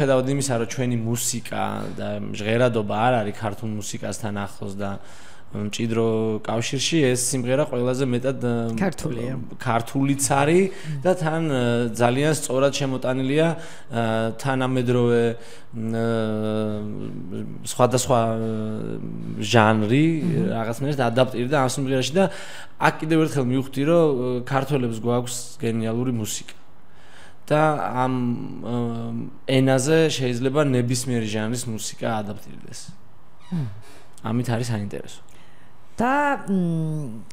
ხედავთ იმისა, რომ ჩვენი მუსიკა და ჟღერადობა არ არის ქართულ მუსიკასთან ახლოს და მჭიდრო კავშირში ეს სიმღერა ყველაზე მეტად ქართულია. ქართულიც არის და თან ძალიან სწორად შემოტანილია თანამედროვე სხვადასხვა ჟანრი რაღაცნაირად ადაპტირდა ამ სიმღერაში და აქ კიდევ ერთხელ მივხვდი, რომ ქართველებს გვაქვს გენიალური მუსიკა. და ამ ენაზე შეიძლება ნებისმიერი ჟანრის მუსიკა ადაპტირდეს. ამით არის საინტერესო. და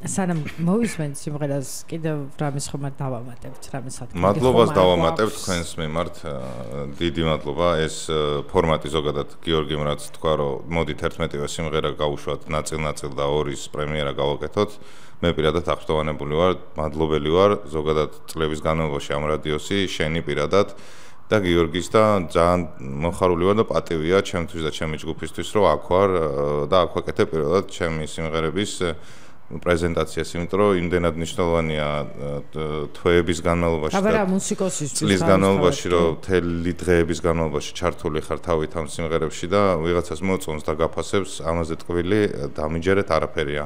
სანამ მოვისმენთ სიმღერას კიდევ რამის ხომ დავამატებთ, რამის სათქმელი. მადლობას დავამატებთ თქვენს მიმართ. დიდი მადლობა. ეს ფორმატი ზოგადად გიორგიმ რაც თქვა, რომ მოდით 11-ვე სიმღერა გავუშვათ ნაწილ-ნაწილ და ორის პრემიერა გავაკეთოთ. მე პირადად აღფრთოვანებული ვარ, მადლობელი ვარ ზოგადად წლების განმავლობაში ამ რადიოსი, შენი პირადად და გიორგის და ძალიან მოხარული ვარ და პატივია ჩემთვის და ჩემი ჯგუფისთვის, რომ აქ ვარ და აქ ვაკეთებ პირადად ჩემი სიმღერების პრეზენტაციას, იმიტომ რომ იმდენად მნიშვნელოვანია თვეების განმავლობაში და მუსიკოსისთვის წლის განმავლობაში, რომ მთელი დღეების განმავლობაში ჩართული ხარ თავით ამ სიმღერებში და ვიღაცას მოწონს და გაფასებს, ამაზე ტყვილი დამიჯერეთ არაფერია.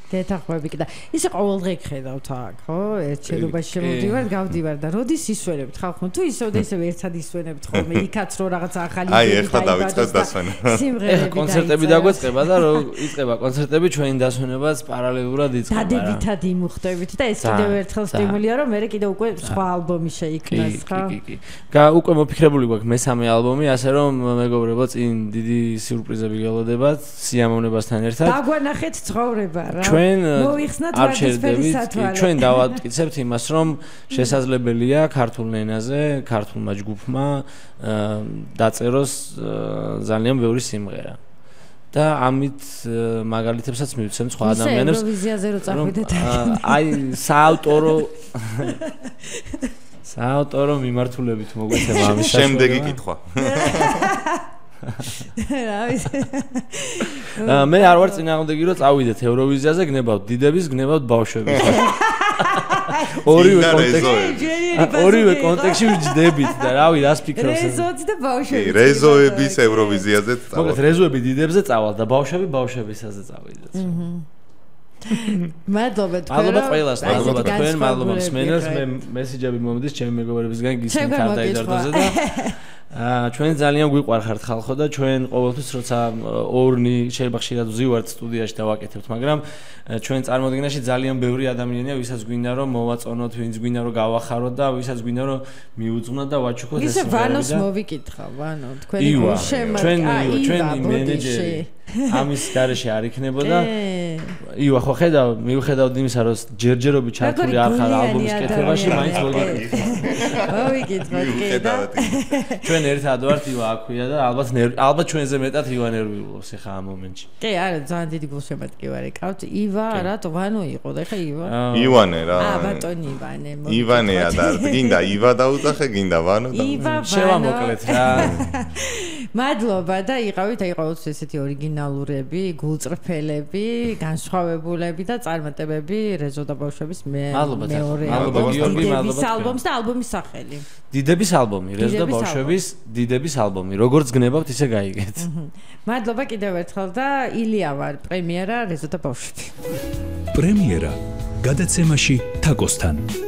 გეთახვები და ისე ყოველდღე ხედავთ აქ, ხო? ერთ შენობაში შემოვდივარ, გავდივარ და როდის ისვენებთ ხალხო? თუ ისევ და ისევ ერთად ისვენებთ ხოლმე, იქაც რო რაღაც ახალი აი, ეხლა დავიწყეთ დასვენება. სიმღერები კონცერტები დაგვეწყება და რო იწყება კონცერტები, ჩვენი დასვენებაც პარალელურად იწყება. დადებითად იმუხტებით და ეს კიდევ ერთხელ სტიმულია, რომ მე კიდევ უკვე სხვა ალბომი შეიქმნას, ხო? კი. უკვე მოფიქრებული გვაქვს მესამე ალბომი, ასე რომ მეგობრებო, წინ დიდი სიურპრიზები გელოდებათ სიამოვნებასთან ერთად. დაგვანახეთ ცხოვრება რა. არ შევდებით, ჩვენ დავატკიცებთ იმას, რომ შესაძლებელია ქართულ ენაზე, ქართულმა ჯგუფმა დაწეროს ძალიან ბევრი სიმღერა. და ამით მაგალითებსაც მივცემ სხვა ადამიანებს. ევროვიზიაზე რო წახვიდეთ. აი, საავტორო მიმართულებით მოგვეცემა ამის შემდეგი კითხვა. მე არ ვარ წინააღმდეგი რომ წავიდეთ ევროვიზიაზე, გნებავთ დიდების, გნებავთ ბავშვების. ორივე კონტექსტში ვჯდებით და რავი, რას ფიქრობს? რეზოც და ბავშვები. რეზოების ევროვიზიაზე წავალ. მოგეთ რეზოები დიდებზე წავალ და ბავშვები ბავშვებისაზე წავიდეთ. მადლობა თქვენ. მადლობა ყველას, მადლობა თქვენ, მადლობა მსმენელს. მე მესიჯები მომდის ჩემი მეგობრებისგან გისმენთ არ დაიდარდოზე და ჩვენ ძალიან გვიყვარხართ ხალხო და ჩვენ ყოველთვის როცა ორნი შეიძლება ხშირად ვზივართ სტუდიაში და ვაკეთებთ, მაგრამ ჩვენ წარმოდგენაში ძალიან ბევრი ადამიანია, ვისაც გვინდა რომ მოვაწონოთ, ვინც გვინდა რომ გავახაროთ და ვისაც გვინდა რომ მიუძღვნოთ და ვაჩუქოთ ეს. ისე ვანოს მოვიკითხა, ვანო, თქვენი გულშემატკივარი, ჩვენ მენეჯერი ამის გარეშე არ იქნებოდა. ივა, ხო ხედავ, მივხედავთ იმისა, რომ ჯერჯერობით ჩართული არ ხარ ალბომის კეთებაში, მაინც მოვიკითხოთ, კი და ჩვენ ერთად ვართ, ივა აქვია და ალბათ ჩვენზე მეტად ივა ნერვიულობს ახლა ამ მომენტში. კი, არა, ძალიან დიდი გულშემატკივარი ყავთ. ივა, რატო ვანო იყო და ახლა ივა? ივანე რა. ბატონი ივანე. ივანეა და გინდა ივა დაუძახე, გინდა ვანო და შევამოკლეთ რა. მადლობა და იყავით აი ყოველთვის ესეთი ორიგინალურები, გულწრფელები, განსხვავებულები და წარმატებები რეზო და ბავშვების მეორე ალბომის და ალბომის სახელი. დიდების ალბომი, რეზო და ბავშვების დიდების ალბომი. როგორც გნებავთ, ისე გაიგეთ. მადლობა კიდევ ერთხელ და ილია ვარ, პრემიერა რეზო და ბავშვები. პრემიერა გადაცემაში თაკოსთან.